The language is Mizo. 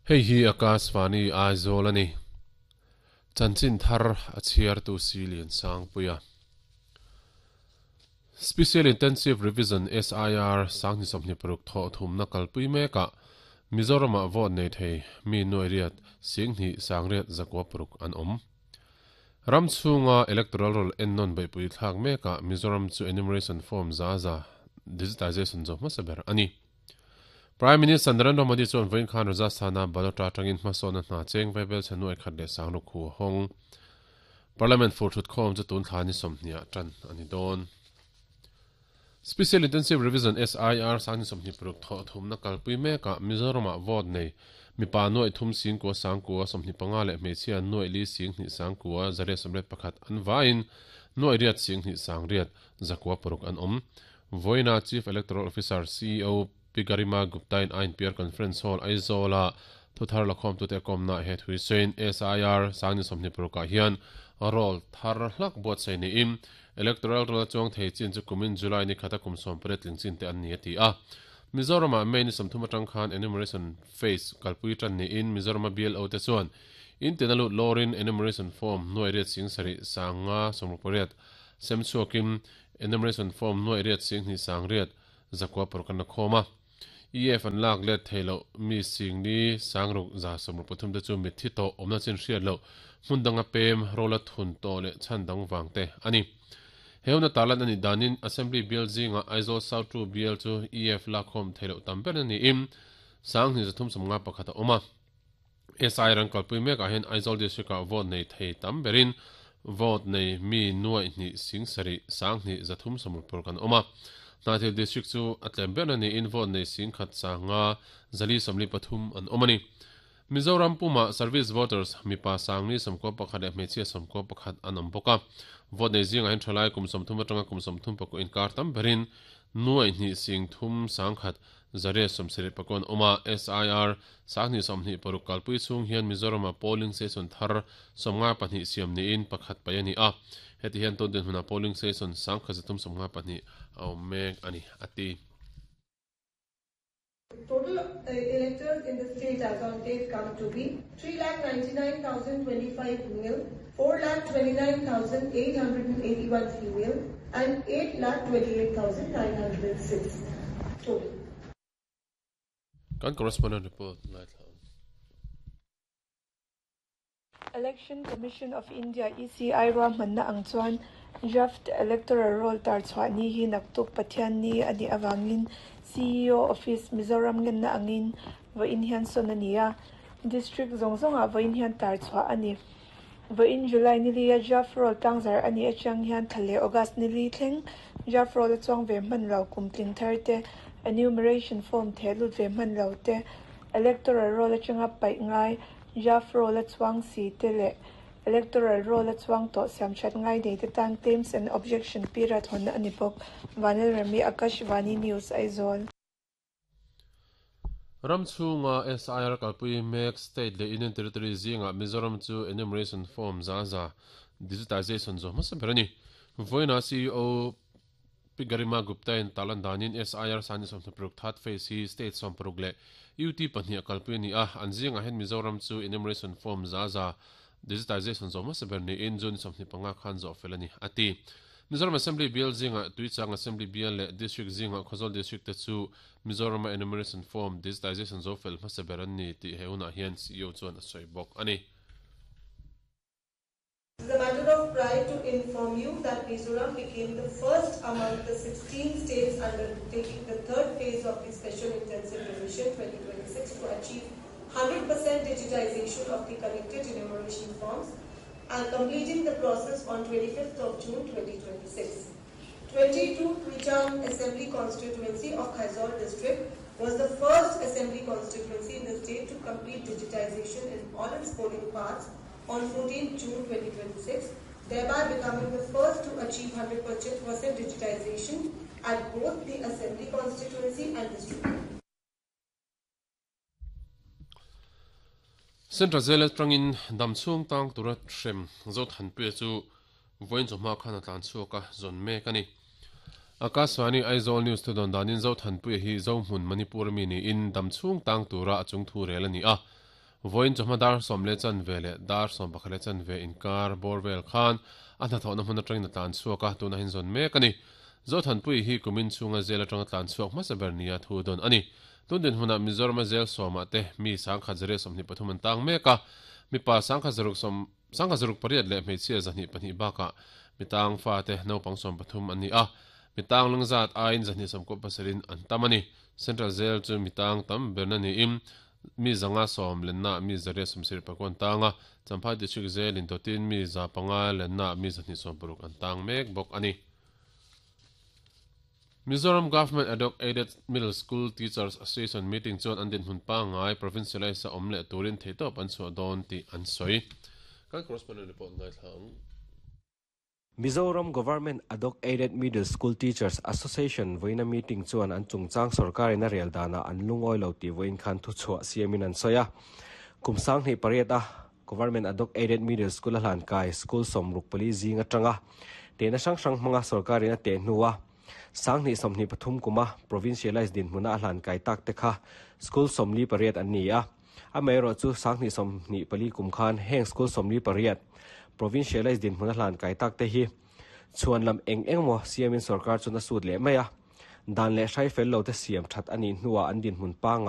Hei hi Akashvani Aizawl a ni. Chanchin thar a chhiartu Silian Sangpuia. Special Intensive Revision, SIR, 2026 thawh thumna kalpui mekah Mizoramah vote nei thei mi nuai riat 10,000 sangriat zakua paruk an awm. Ram chhunga electoral roll ennawn beihpui thlak mekah Mizoram chu enumeration form za za digitization zo hmasa ber a ni. Prime Minister Narendra Modi chuan vawiin khan Rajasthan-a Balotra atangin hmasawnna hna cheng vaibel chhe nuai khat leh sangruk hu a hawng. Parliament fur thutkhawm chu tun thla ni sawmhnih ah tan a ni dawn. Special Intensive Revision, SIR, 2026 thawh thumna kalpui mekah Mizoramah vote nei mipa nuaih thum singkua sangkua 25 leh hmeichhia nuaih li singhnih sangkua zariat sawmriat pakhat an vaiin nuaih riat singhnih sangriat zakua paruk an awm. Vawiina Chief Electoral Officer, CEO, Pi Garima Gupta-in INPR Conference Hall, Aizawl-a thuthar lakhawmtute a kawmnaah he thu hi sawiin SIR 2026 ah hian roll thar hlak buatsaih niin Electoral roll a chuang thei chin chu kumin July ni khata kum 18 tling chin te an ni a ti a. Mizoramah May ni 30 atang khan enumeration phase kalpui tan niin Mizorama BLO te chuan in tina lut lawrin enumeration form nuai riat sing sarih sanga sawmruk pariat sem chhuakin enumeration form nuai riat sing hnih sang riat zakua paruk an la khawm a. EF an lak let thei loh mi singli sangruk za sawmruk pathum te chu mitthi tawh awmna chin hriat loh hmun danga pem rola thun tawh leh chhan dang vang te a ni. He huna tarlan a nih danin Assembly bial zingah Aizawl South 2 bial chu EF lakkhawm thei loh tam ber na niin 2 351 a awm a. SI ran kalpui mekah hian Aizawl District-ah vote nei thei tam berin vote nei mi nuaih hnih sing sarih 2 3 30 paruk an awm a. Hnahthial District chu a tlem berna niin vote nei sing khat sanga zali sawmli pathum an awm a ni. Mizoram pumah Service Voters mipa sangli sawmkua pakhat leh hmeichhia sawmkua pakhat an awm bawk a. Vote nei zingah hian thalai kum 30 atanga kum 34 inkar tam berin nuaih hnih sing thum sang khat Zariat sawmsarih pakawn awm a, SIR 2026 kalpui chhung hian Mizoramah polling station thar 52 siam niin pakhat paih a ni a, heti hian tun dinhmunah polling station 1352 a awm mek a ni, a ti. Total electors in the state as on date come to be 3,99,025 male, 4,29,881 female and 8,28,906 total. Kan correspondent report ngaithla ang. Election Commission of India, ECI, ruahmanna ang chuan Draft Electoral Roll tar chhuah ni hi naktuk Pathian ni a nih avangin CEO Office, Mizoram ngenna angin vawiin hian sawn a ni a. District zawng zawngah vawiin hian tar chhuah a ni. Vawiin July ni lia Draft Roll tlangzar a nih atang hian thla leh August ni li thleng Draft Roll a chuang ve hman lo kum tling thar te, Enumeration Form theh lut ve hman lo te, Electoral Roll atanga paih ngai Draft Roll a chuang si te leh Electoral Roll a chuang tawh siam that ngai nei te tan Claims and Objection period hawnna a ni bawk. Vanlalremi Akashvani News, Aizawl. Ram chhunga SIR kalpui mek state leh Union Territory zingah Mizoram chu enumeration form za za digitization zawh hmasa ber a ni. Vawiinah CEO Pi Garima Gupta-in tarlan danin SIR 2026 third phase hi state 60 leh UT pahnih a kalpui a ni a, an zingah hian Mizoram chu enumeration form za za digitization zawh hmasa ber niin June 25 khan zawh fel a ni, a ti. Mizoram Assembly bial zingah Tuichang Assembly bial leh District zingah Khawzawl District te chu Mizorama Enumeration Form Digitization zo fel hmasa ber an ni tih he hunah hian CEO chuan a sawi bawk a ni. It is a matter of pride to inform you that Mizoram became the first among the 16 states undertaking the third phase of the Special Intensive Revision 2026 to achieve 100% digitization of the collected enumeration forms and completing the process on 25th of June 2026. 22 Tuichang Assembly Constituency of Khawzawl District was the first assembly constituency in the state to complete digitization in all its polling parts on 14 June 2026, thereby becoming the first to achieve 100% digitization at both the assembly constituency and district. Central Jail atangin dam chhung tang tura hrem Zothanpuia chu vawiin chawhma khan a tlan chhuak a, zawn mek a ni. Akashvani Aizawl News thu dawn danin Zothanpuia hi Zohmun Manipur ami niin dam chhung tang tura a chung thu rel a ni a. Vawiin chawhma dar 10:15 leh dar 11:15 inkar bawr vel khan a hnathawhna hmun atangin a tlan chhuak a, tunah hian zawn mek a ni. Zothanpuii hi kumin chhunga zel atanga tlan chhuak hmasa ber nia thu dawn a ni. Tun dinhmunah Mizorama zel sawmah te mi 1123 an tang mek a, mipa 1068 leh hmeichhia 202 bakah mitang fate naupang 13 an ni a, mitang lungzat aiin 297 in an tam a ni. Central Zel chu mitang tam berna niin mi 510 lenna mi 879 an tang a, Champhai District zelin dawtin mi 500 lenna mi 260 an tang mek bawk a ni. Mizoram Government Ad Hoc Aided Middle School Teachers Association meeting chuan an dinhmun pangngai provincialise a awm leh turin theihtawp an chhuah dawn tih an sawi. Kan correspondent report ngaithla ang. Mizoram Government Ad Hoc Aided Middle School Teachers Association vawiina meeting chuan an chungchang sorkarin a rel danah an lungawi lo tih vawiin khan thuchhuah siamin an sawi a. Kum 2008 a Government Ad Hoc Aided Middle School a hlan kai school 64 zing atanga tehna hrang hrang hmanga sorkarin a teh hnua 2023 kuma provincialised dinhmuna a hlan kai tak te kha school 48 an ni a. Amaherawhchu 2024 kum khan heng school 48 provincialised dinhmuna hlan kai tak te hi chhuan lam eng eng maw siamin sorkar chuan a sut leh mai a. Dan leh hrai fel lo te siam that a nih hnuah an dinhmun pangngai.